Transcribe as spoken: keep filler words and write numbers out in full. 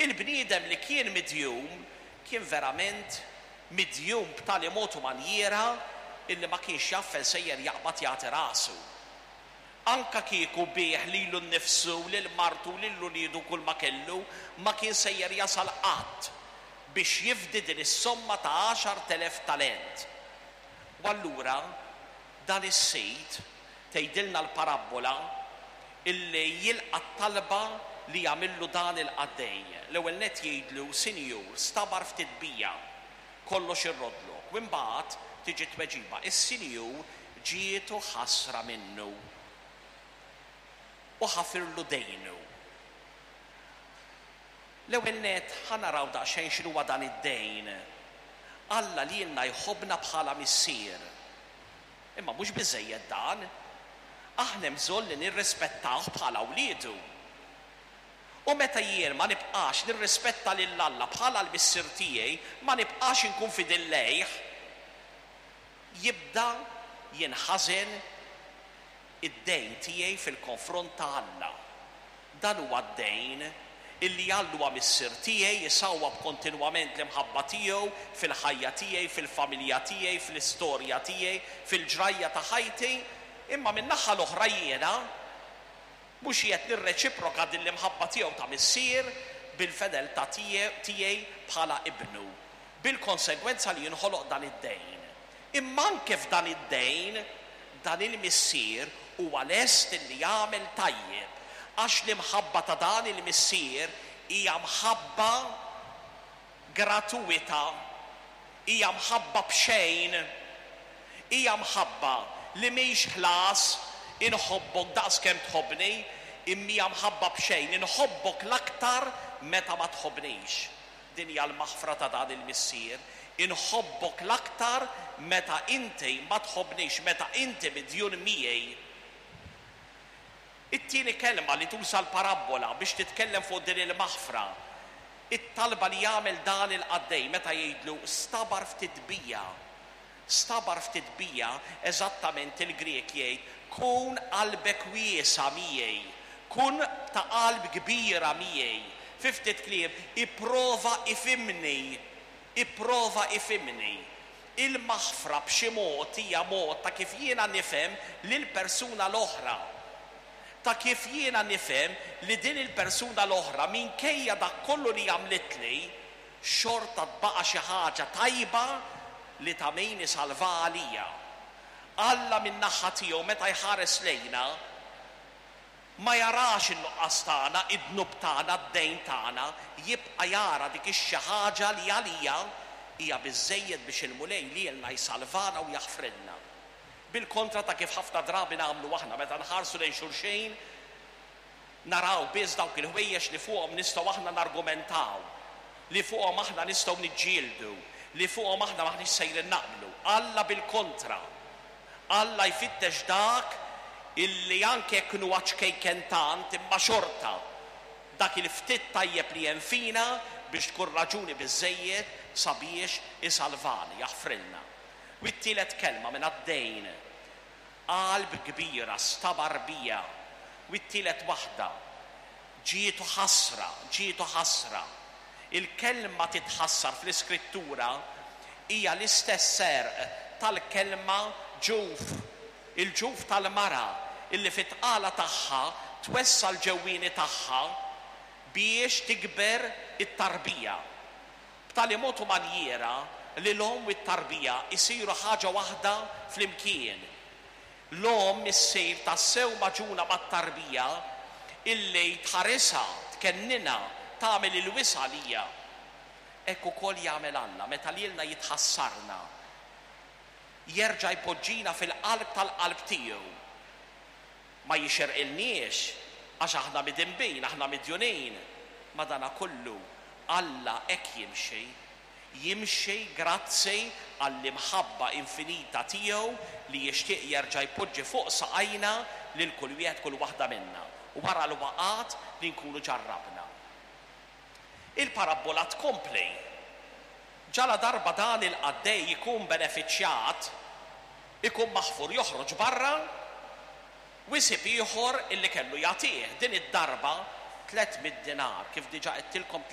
Il-bniedem li kien midjum kien verament midjum b'tali mod u manjiera illi ma kienx jaf fejn sejjer jaqbad jagħti rasu. Anka kieku biegħ lilu nnifsu, lil martu, lil uliedu, kull ma kellu, ma kien sejjer jasal qatt biex jifdi din is-somma ta' għaxart elef talent. U allura dan is-sid, tgħidilna l-parabbola, illi jilqa' t-talba li jagħmillu dan il-qaddej. L-ewwel nett jgħidlu, "Sinjur, stabar ftit bija, kollox irroddlok." U imbagħad tiġi tweġiba. Is-sinjur ġietu ħasra minnu u ħafirlu dejnu. L-ewwel nett ħa naraw daqsxejn x'inhuwa dan id-dejn. Alla lilna jħobbna bħala missier. Imma mhux biżejjed dan. Aħna hemm bżonn li nirrispettawh bħala wliedu. U meta jien ma nibqax nirrispetta lil Alla bħala l-missier tiegħi, ma nibqax inkun fidil lejh, jibda jinħażen id-dejn tiegħi fil-konfront ta' Alla. Dan huwa d-dejn illi Alla huwa missier tiegħi, jisawwab kontinwament l-imħabba tiegħu fil-ħajja tiegħi, fil-familja tiegħi, fl-istorja tiegħi, fil-ġrajja ta' ħajti, imma min-naħa l-oħra jiena mhux qed nirreċiproka din l-imħabba tiegħu ta' missier bil-fedeltà tiegħi bħala ibnu, bil-konsegwenza li jinħoloq dan id-dejn. Imma anke f'dan id-dejn, dan il-missier huwa lest li jagħmel tajjeb, għax l-imħabba ta' dan il-missier hija mħabba gratuita, hija mħabba b'xejn, hija mħabba li mhix ħlas, inħobbok daqs kemm tħobbni, imma hija mħabba b'xejn, inħobbok l-aktar meta ma tħobbnix. Din hija l-maħfra ta' dan il-missier. Inħobbok l-aktar meta inti ma tħobbnix, meta inti midjun miegħi. It-tieni kelma li tuża l-parabbola biex titkellem fuq din il-maħfra, it-talba li jagħmel dan il-qaddej meta jgħidlu stabar ftit bija. Stabar ftit bija, eżattament il-Grek jgħid kun qalbek wiesa miegħi, kun ta' qalb kbira miegħi. Fi ftit kliem, ipprova ifhimni, ipprova ifhimni. Il-maħfra b'xi mod hija mod ta' kif jiena nifhem lil persuna l-oħra. Ta' kif jiena nifhem li din il-persuna l-oħra minkejja dak kollu li għamlitli, xorta tbaqa' xi ħaġa tajba li ta' min isalva għalija. Alla min-naħa tiegħu meta jħares lejna ma jarax in-nuqqas tagħna, id-dnub tagħna, d-dejn tagħna, jibqa' jara dik ix-xi ħaġa li għalija hija biżżejjed biex il-Mulej lilna jsalvana u jaħfrilna. Bil-kontra ta' kif ħafna drabi nagħmlu aħna meta nħarsu lejn xulxin, naraw biss dawk il-ħwejjeġ li fuqhom nistgħu aħna nargumentaw, li fuqhom aħna nistgħu niġġieldu, li fuqhom aħna maħniex sejrin naqblu. Alla bil-kontra. Alla jfittex dak illi anke jekk huwa ċkejken tant imma xorta dak il-ftit tajjeb li hemm fina biex tkun raġuni biżżejjed sabiex isalvani, jaħfrilna. U t-tielet kelma minn għad-dejn, qalb kbira, stabar bija. U t-tielet waħda, ġietu ħasra, ġietu ħasra. Il-kelma titħassar fl-iskrittura hija l-istess serq tal-kelma ġuf, il-ġuf tal-mara illi fit-tqala tagħha twessa' l-ġewwieni tagħha biex tikber it-tarbija. B'tali mod u manjiera li l-omm u t-tarbija jsiru ħaġa waħda flimkien. L-omm issir tassew magħġuna mat-tarbija illi tħarisha, tkennina, tagħmel il-wisa' lija. Hekk ukoll jagħmel Alla meta lilna jitħassarna. Jerġa' jpoġġina fil-qalb tal-qalb tiegħu. Ma jixerqilniex għax aħna midinbin, aħna midjunin. Madana kollu Alla hekk jimxi. Jimxi grazzi għall-imħabba infinita tiegħu li jixtieq jerġa' jpoġġi fuq saqajna lil kull wieħed kull waħda minna. Wara l-waqgħat li nkunu ġarrabna. Il-parabbola tkompli. Ġala darba dan il-qaddej ikun benefiċjat, ikun maħfur, joħroġ barra, u jsib ieħor illi kellu jagħtih. Din id-darba tliet mitt dinar, kif diġà għedtilkom